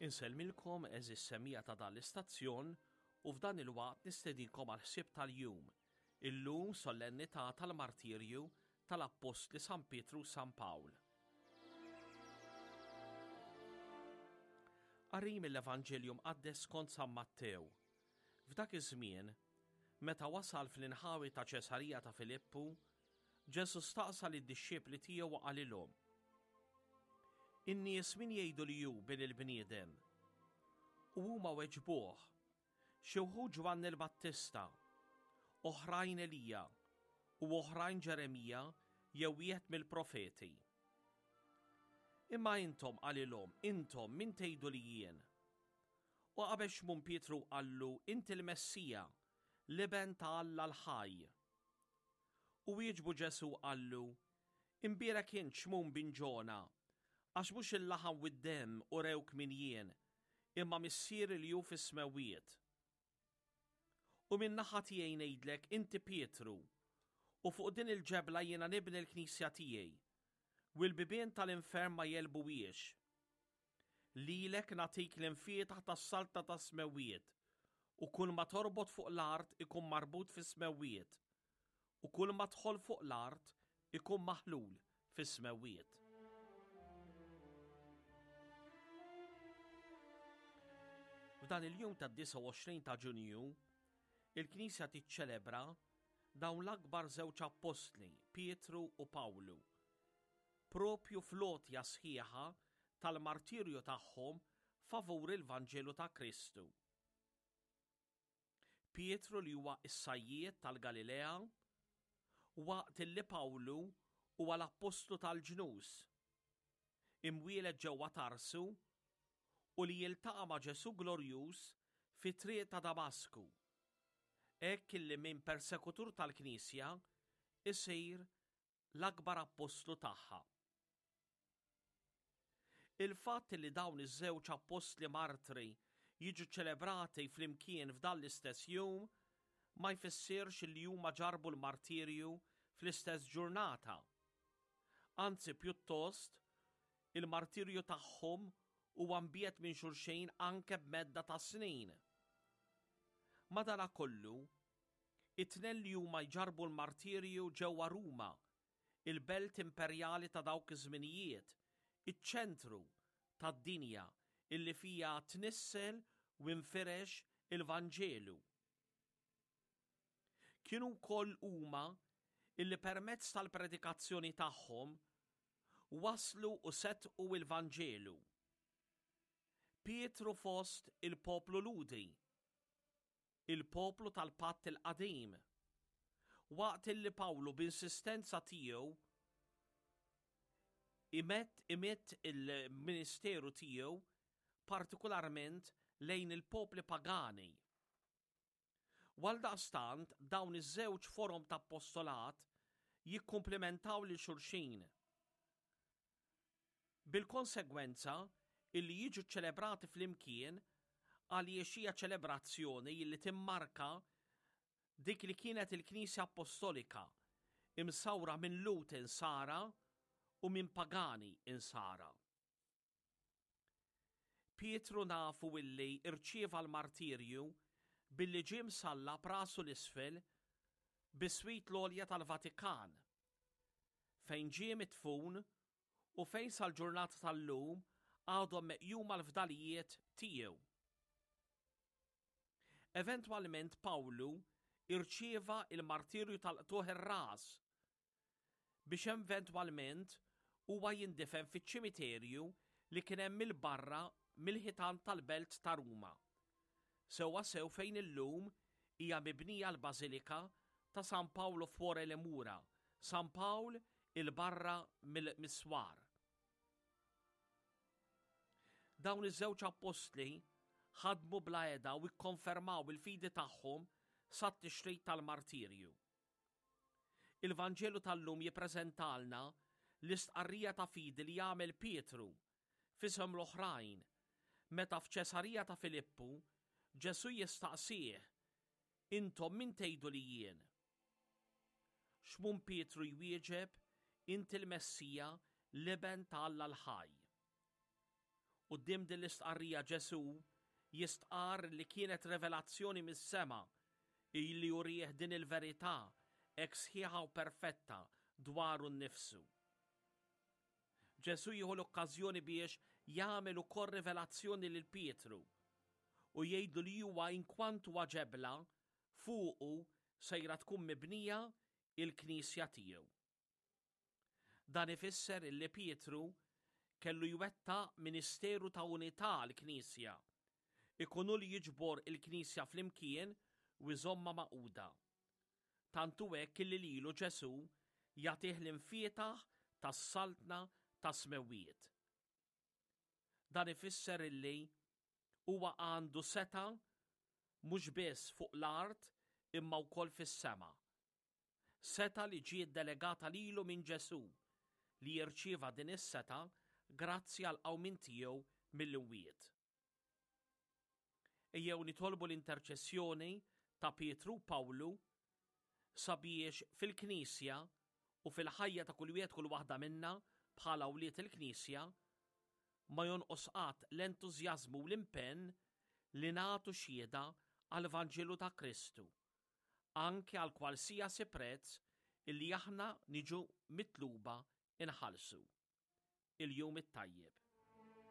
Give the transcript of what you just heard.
Insellmilkom għeżież semmiegħa ta' dan l-istazzjon u f'dan il-waqt nistedinkom għall-ħsieb tal-jum, illum solennità tal-martirju tal-Appostli San Pietru u San Pawl. Qari mill-Evanġelju Mqaddes skont San Mattew. F'dak iż-żmien, meta wasal fl-inħawi ta' Ċesarija ta' Filippu, Ġesù staqsa lid-dixxipli tiegħu u qalilhom, In-nies min jgħidu li hu bin il-bniedem? U huma weġbuh, Xi wħud Ġwanni l-Battista, oħrajn Elija, u oħrajn Ġeremija jew wieħed mill-profeti. Imma intom, qalilhom, intom min tgħidu li jien? U qabel Xmun Pietru qallu, Inti l-Messija, l-Iben ta' Alla l-ħaj. U wieġbu Ġesù qallu, Imbierek int Xmun bin Ġona, għax mhux il-laħam u d-demm urewk min jien, imma Missieri li hu fis-smewwiet. U min-naħa tiegħi ngħidlek inti Pietru, u fuq din il-ġebla jiena nibni l-knisja tiegħi, u l-bibien tal-infern ma jegħlbuhiex. Lilek nagħtik l-imfietaħ tas-saltna tas-smewwiet, u kull ma torbot fuq l-art ikun marbut fis-smewwiet, u kull ma tħoll fuq l-art ikun maħlul fis-smewwiet. F'dan il-jum tad-29 ta' Ġunju, il-Knisja tiċċelebra dawn l-akbar żewġ appostli, Pietru u Pawlu, proprju fl-għotja sħiħa tal-martirju tagħhom favur il-Vanġelu ta' Kristu. Pietru li huwa s-sajjied tal-Galilea, waqt illi Pawlu huwa l-appostlu tal-ġnus, imwieled ġewwa Tarsu u li jiltaqa' ma' Ġesù glorjuż fit-triq ta' Damasku, hekk illi minn persekutur tal-Knisja isir l-akbar appostlu tagħha. Il-fatt li dawn iż-żewġ appostli martri jiġu ċelebrati flimkien f'dan l-istess jum ma jfissirx li huma ġarrbu l-martirju fl-istess ġurnata. Anzi pjuttost, il-martirju tagħhom huwa mbiegħed minn xulxin anke b'medda ta' snin. Madanakollu, It-tnejn li huma jġarrbu l-martirju ġewwa Ruma, il-belt imperjali ta' dawk iż-żminijiet, iċ-ċentru tad-dinja illi fiha tnissel u nfirex il-Vanġelu. Kienu wkoll huma illi permezz tal-predikazzjoni tagħhom wasslu u seddqu l-Vanġelu. Pietru fost il-poplu Lhudi, il-poplu tal-Patt il-Qadim, waqt illi Pawlu b'insistenza tiegħu imett imitt il-ministeru tiegħu partikularment lejn il-popli pagani. U għaldaqstant dawn iż-żewġ forom ta' appostolat jikkumplimentaw lil xulxin. Bil-konsegwenza illi jiġu ċċelebrati flimkien għaliex hija ċelebrazzjoni illi timmarka dik li kienet il-Knisja Appostolika, imsawra minn Lhud Insara u minn pagani Insara. Pietru nafu illi rċieva l-martirju billi ġie msallab rasu 'l isfel biswit l-għolja tal-Vatikan, fejn ġie midfun u fejn sal-ġurnata tal-lum għadhom meqjuma l-fdalijiet tiegħu. Eventwalment Pawlu rċieva l-martirju tal-qtugħ ir-ras biex eventwalment huwa jindifen fiċ-ċimiterju li kien hemm 'il barra mill-ħitan tal-belt ta' Ruma, sewwasew fejn illum hija mibnija l-Bażilika ta' San Paolo fuori le Mura, San Pawl 'il barra mis-swar. Dawn iż-żewġ appostli ħadmu bla heda u kkonfermaw il-fidi tagħhom sat-tixrid tal-martirju. Il-Vanġelu tal-lum jippreżentalna l-istqarrija ta' fidi li jagħmel Pietru f'isem l-oħrajn meta f'Ċesarija ta' Filippu Ġesù jistaqsih, Intom min tgħidu li jien? Xmun Pietru jwieġeb, Inti l-Messija, l-Iben ta' Alla l-ħaj. Quddiem din l-istqarrija Ġesù jistqarr li kienet revelazzjoni mis-sema illi urieh din il-verità hekk sħiħa u perfetta dwaru nnifsu. Ġesù jieħu l-okkażjoni biex jagħmel ukoll rivelazzjoni lil Pietru u jgħidlu li huwa inkwantu huwa ġebla fuqu sejra tkun mibnija il-knisja tiegħu. Dan ifisser illi Pietru kellu jwettaq ministeru ta' unità għall-Knisja, ikun hu li jiġbor il-Knisja flimkien u jżommha magħquda. Tant hu hekk illi lilu Ġesù jagħtih l-imfietaħ tas-Saltna tas-Smewwiet. Dan ifisser illi huwa għandu setgħa mhux biss fuq l-art imma wkoll fis-sema. Setgħa li ġiet delegata lilu minn Ġesù, li jirċieva din is-setgħa grazzi għall-qawmien tiegħu mill-imwiet. Ejjew nitolbu l-interċessjoni ta' Pietru u Pawlu sabiex fil-Knisja u fil-ħajja ta' kull wieħed kull waħda minna bħala wlied il-Knisja ma jonqos qatt l-entużjażmu u l-impenn li nagħtu xhieda għall-Vanġelu ta' Kristu anke għal kwalsiasi prezz illi aħna niġu mitluba inħallsu. Il-jum it-tajjeb.